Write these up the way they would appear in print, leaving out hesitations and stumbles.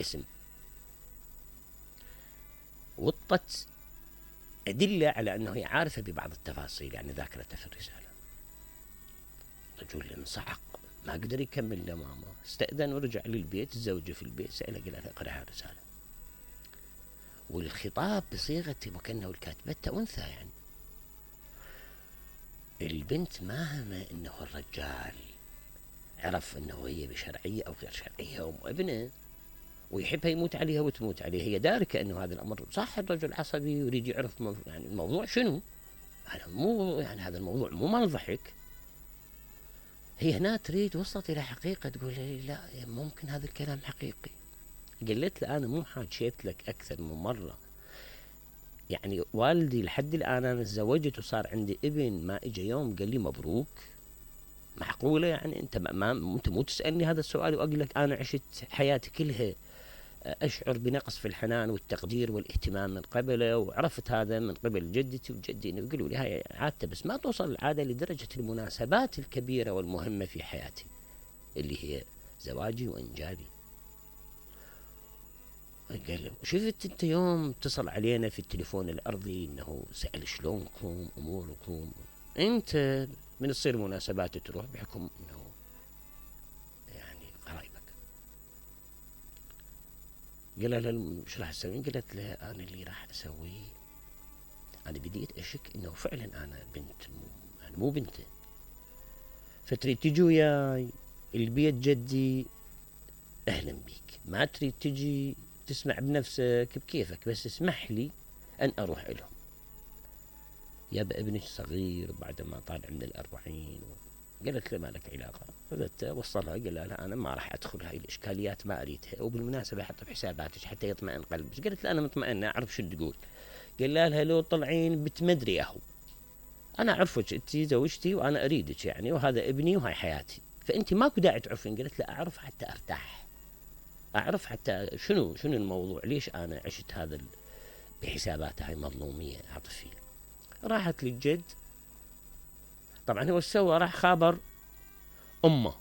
الاسم. وطت أدلة على أنه هي عارفة ببعض التفاصيل، يعني ذاكرتها في الرسالة. الرجل انصعق، ما قدر يكمل أمامه، استأذن ورجع للبيت. الزوجة في البيت سألها، قال لها اقرأ الرسالة. والخطاب بصيغة وكأنه الكاتبة أنثى. يعني البنت ما همه أنه الرجال عرف أنه هي بشرعية أو غير شرعية وابنه ويحبها يموت عليها وتموت عليه. هي داركة أنه هذا الأمر صح، الرجل عصبي يريد يعرف يعني الموضوع شنو. هذا مو يعني هذا الموضوع مو مال ضحك. هي هنا تريد وصلت إلى حقيقة، تقول لي لا ممكن هذا الكلام حقيقي. قلت له أنا مو حاجيت لك أكثر من مرة، يعني والدي لحد الآن أنا تزوجت وصار عندي ابن، ما إجا يوم قال لي مبروك. معقولة يعني أنت أنت مو تسألني هذا السؤال وأقول لك أنا عشت حياتي كلها أشعر بنقص في الحنان والتقدير والاهتمام من قبله، وعرفت هذا من قبل جدتي وجدي. يقولوا لي هاي عادته، بس ما توصل العادة لدرجة المناسبات الكبيرة والمهمة في حياتي اللي هي زواجي وإنجابي. قال شفت أنت يوم اتصل علينا في التليفون الأرضي إنه سأل شلونكم أموركم، أنت من تصير مناسبات تروح بحكم إنه يعني قرايبك. قال لها شو راح تسوين؟ قالت له أنا اللي راح أسويه، أنا بديت أشك إنه فعلا أنا بنت يعني مو بنته، فتريد تجي وياي البيت جدي أهلا بيك، ما تريد تجي تسمع بنفسك بكيفك، بس اسمح لي أن أروح لهم. يابا ابنك صغير بعد ما طالع من 40. قالت له ما لك علاقة. فبدت وصلها، قال لها أنا ما راح أدخل هاي الإشكاليات، ما أريدها، وبالمناسبة حط بحساباتك حتى يطمئن قلبك. قالت له أنا مطمئنة، أعرف شو تقول. قال لها لو طلعين بتمدري أهو، أنا أعرفك أنت زوجتي وأنا أريدك يعني، وهذا ابني وهاي حياتي، فأنت ماكو داعي تعرفين. قالت له أعرف حتى أرتاح، أعرف حتى شنو الموضوع، ليش أنا عشت هذا بحسابات هاي مظلومية عاطفية. راحت للجد، طبعا هو سوى راح خابر أمه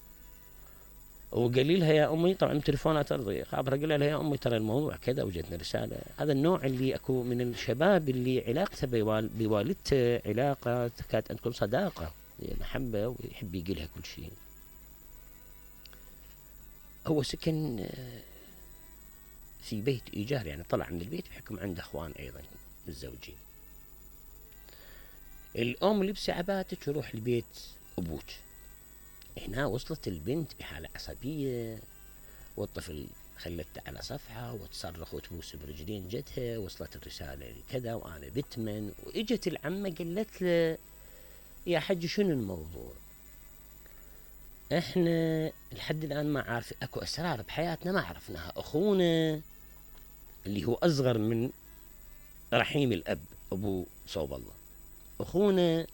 وقال لها يا أمي، طبعا تليفونات أرضية، خابرها قال لها يا أمي ترى الموضوع كذا وجدنا رسالة. هذا النوع اللي أكو من الشباب اللي علاقته بوالدته علاقة تكاد أن تكون صداقة محبة، ويحب يقولها كل شيء. هو سكن في بيت إيجار، يعني طلع من البيت بحكم عنده أخوان أيضا متزوجين. الأم لبسي عباتك وروح لبيت أبوك. هنا وصلت البنت بحالة عصبية، والطفل خلته على صفحة وتصرخ وتبوس برجلين جدها. وصلت الرسالة كذا وأنا بتمن. وإجت العمة قالت له يا حج شنو الموضوع، احنا لحد الآن ما عارف، اكو أسرار بحياتنا ما عرفناها. أخونا اللي هو أصغر من رحيم الأب أبو صوب الله، أخونا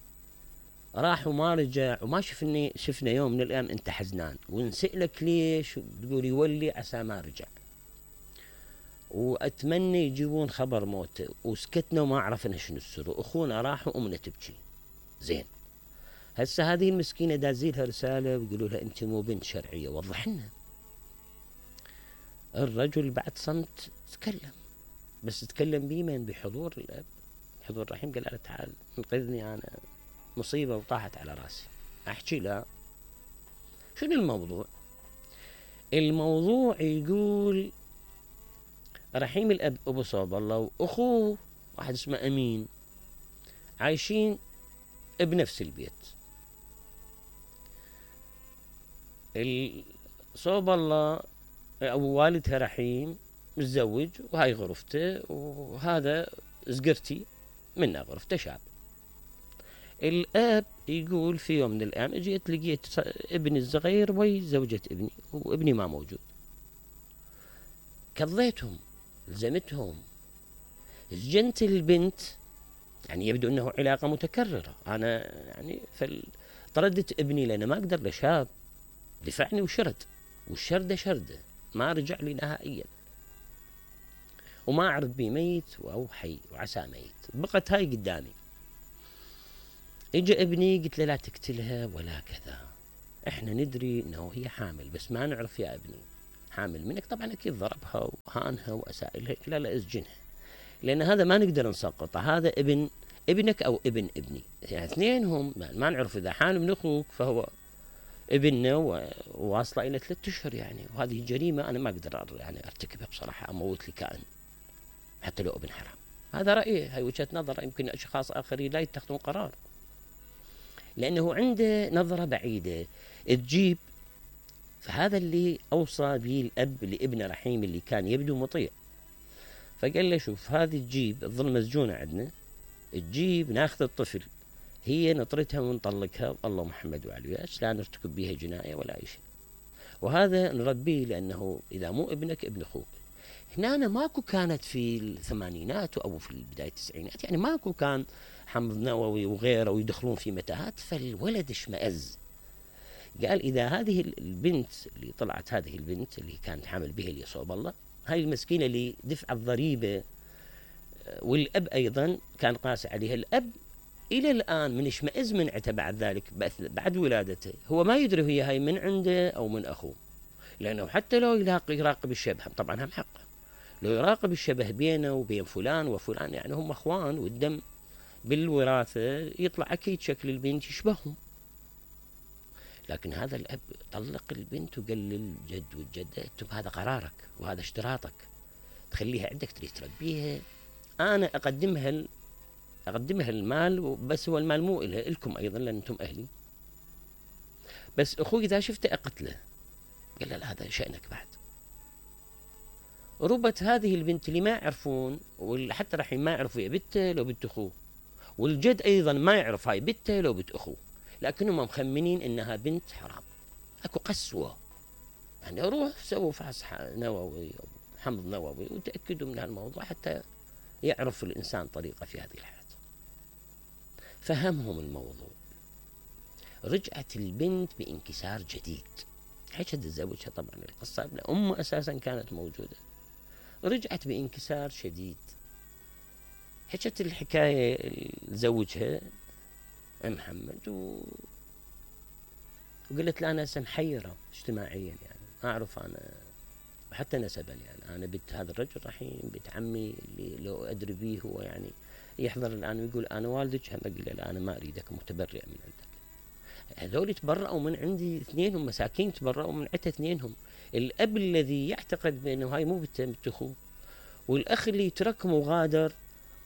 راح وما رجع، وما شفنا يوم من الأيام أنت حزنان، ونسألك ليش تقول يولي عسى ما رجع، وأتمنى يجيبون خبر موته. وسكتنا وما عرفنا شنو السر. أخونا راح وأمنا تبكي. زين هسه هذه المسكينة دازيلها رسالة ويقولوا لها أنت مو بنت شرعية، وضح لنا. الرجل بعد صمت تكلم، بس تكلم بمن؟ بحضور الأب، حضور الرحيم. قال له تعال انقذني، أنا مصيبة وطاحت على راسي. أحكي لا شنو الموضوع. الموضوع يقول رحيم الأب أبو صوب الله وأخوه واحد اسمه أمين عايشين بنفس البيت. صوب الله أو والدها رحيم متزوج وهاي غرفته، وهذا زقرتي منها غرفته شاب. الأب يقول في يوم من الأيام اجيت لقيت ابني الصغير وي زوجة ابني، وابني ما موجود. كضيتهم لزمتهم، سجنت البنت، يعني يبدو أنه علاقة متكررة. أنا يعني طردت ابني لأنه ما أقدر لشاب دفعني وشرد، والشردة شردة ما رجع لي نهائيا، وما أعرف بي ميت أو حي وعسى ميت. بقت هاي قدامي. اجى ابني قلت له لا تقتلها ولا كذا، احنا ندري انه هي حامل بس ما نعرف يا ابني. حامل منك، طبعا أكيد ضربها وهانها وأسائلها، لا اسجنها، لأن هذا ما نقدر نسقطه، هذا ابنك أو ابن ابني، يعني اثنينهم ما نعرف، إذا حامل من أخوك فهو ابننا وواصلة إلى 3 أشهر يعني، وهذه جريمة أنا ما أقدر يعني أرتكبها بصراحة، أموت لي كائن حتى لو ابن حرام. هذا رأيي، هاي وجهة نظر، يمكن أشخاص آخرين لا يتخذون قرار، لأنه عنده نظرة بعيدة تجيب. فهذا اللي أوصى به الأب لابنه رحيم اللي كان يبدو مطيع، فقال له شوف هذه تجيب تظل مسجونة عندنا، تجيب ناخذ الطفل، هي نطرتها ونطلقها، الله محمد وعلي لا نرتكب بها جناية ولا أي شيء، وهذا نربيه، لأنه إذا مو ابنك ابن أخوك. هنا أنا ماكو كانت في الثمانينات أو في بداية التسعينات، يعني ماكو كان حمض نووي وغيره ويدخلون في متاهات، فالولد اشمئز، قال إذا هذه البنت اللي طلعت، هذه البنت اللي كانت حامل بها اللي صوب الله، هاي المسكينة اللي دفع الضريبة، والأب أيضا كان قاسي عليها، الأب إلى الآن من اشمئز منعته بعد ذلك، بعد ولادته، هو ما يدري هي هاي من عنده أو من أخوه، لأنه حتى لو يراقب الشبه، طبعا هم حقه، لو يراقب الشبه بينه وبين فلان وفلان، يعني هم أخوان والدم بالوراثة، يطلع أكيد شكل البنت يشبههم. لكن هذا الأب طلق البنت وقال للجد والجدة انتم هذا قرارك وهذا اشتراطك، تخليها عندك تريد تربيها، أنا أقدمها المال، بس هو المال مو إلها، إلكم أيضا لأن أنتم أهلي، بس أخوي إذا شفته أقتله. قال لا هذا شأنك بعد. ربت هذه البنت اللي ما يعرفون، وحتى راح ما يعرفوا هي بنته لو بنت أخوه، والجد أيضا ما يعرف هاي بنته لو بنت أخوه، لكنهم مخمنين إنها بنت حرام. أكو قسوة، يعني روح سووا فحص نووي أو حمض نووي وتأكدوا من هالموضوع حتى يعرف الإنسان طريقة في هذه الحياة. فهمهم الموضوع، رجعت البنت بانكسار جديد، حكت تزوجها، طبعا القصة أمها أساسا كانت موجودة، رجعت بانكسار شديد، حكت الحكاية لزوجها محمد وقلت له أنا محيرة اجتماعيا، يعني ما أعرف أنا حتى نسبا، يعني أنا بنت هذا الرجل رحيم، بنت عمي اللي لو أدري به هو يعني يحضر الآن ويقول أنا والدك، هم أقول له لا أنا ما أريدك، متبرئ من عندك. هذول تبرأوا من عندي اثنينهم، مساكين تبرأوا من عندي اثنينهم، الأب الذي يعتقد بأنه هاي مو بنت أخوه، والأخ اللي يتركهم وغادر،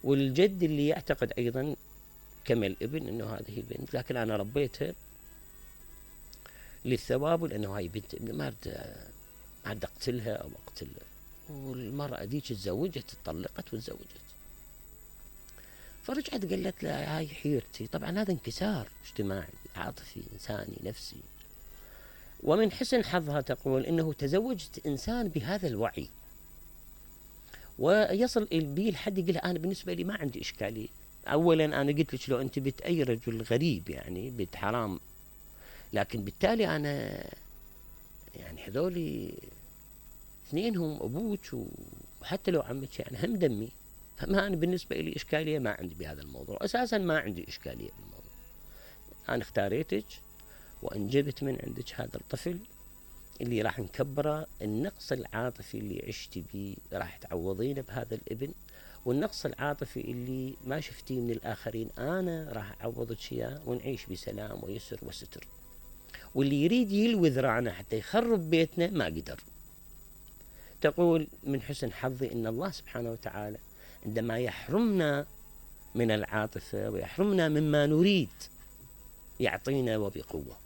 والجد اللي يعتقد أيضا كما الابن أنه هذه بنت، لكن أنا ربيتها للثواب، ولأنه هاي بنت ابني، ما أريد أقتلها أو أقتلها. والمرأة ديك تزوجت، اتطلقت وتزوجت، فرجعت قالت لا هاي حيرتي. طبعا هذا انكسار اجتماعي عاطفي إنساني نفسي. ومن حسن حظها تقول إنه تزوجت إنسان بهذا الوعي، ويصل بي الحد يقول أنا بالنسبة لي ما عندي إشكالية. أولا أنا قلت لك لو أنت بنت أي رجل غريب يعني بنت حرام، لكن بالتالي أنا يعني هذولي اثنينهم أبوك وحتى لو عمك يعني هم دمي، فما أنا بالنسبة لي إشكالية ما عندي بهذا الموضوع، أساسا ما عندي إشكالية بالموضوع. أنا اختاريتك وأنجبت من عندك هذا الطفل اللي راح نكبره، النقص العاطفي اللي عشت بيه راح تعوضينه بهذا الابن، والنقص العاطفي اللي ما شفتيه من الآخرين أنا راح أعوضك إياه، ونعيش بسلام ويسر وستر. واللي يريد يلوي ذراعنا حتى يخرب بيتنا ما قدر. تقول من حسن حظي إن الله سبحانه وتعالى عندما يحرمنا من العاطفة ويحرمنا مما نريد يعطينا وبقوة.